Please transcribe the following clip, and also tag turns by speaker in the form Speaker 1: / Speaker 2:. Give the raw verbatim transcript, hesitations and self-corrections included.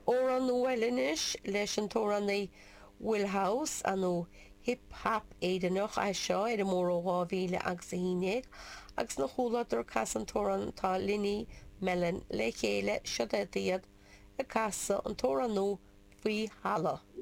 Speaker 1: Amhrán nua eile anois leis an t-amhránaí Will House, nó hip hap Éireannach é seo ar an mbóthar ó dhá mhíle agus a haon déag, agus ina chomhluadar ag casadh an t-amhrán tá Linny Mellon le chéile, siod iad ag casadh an t-amhrán nua Faoi Thalamh.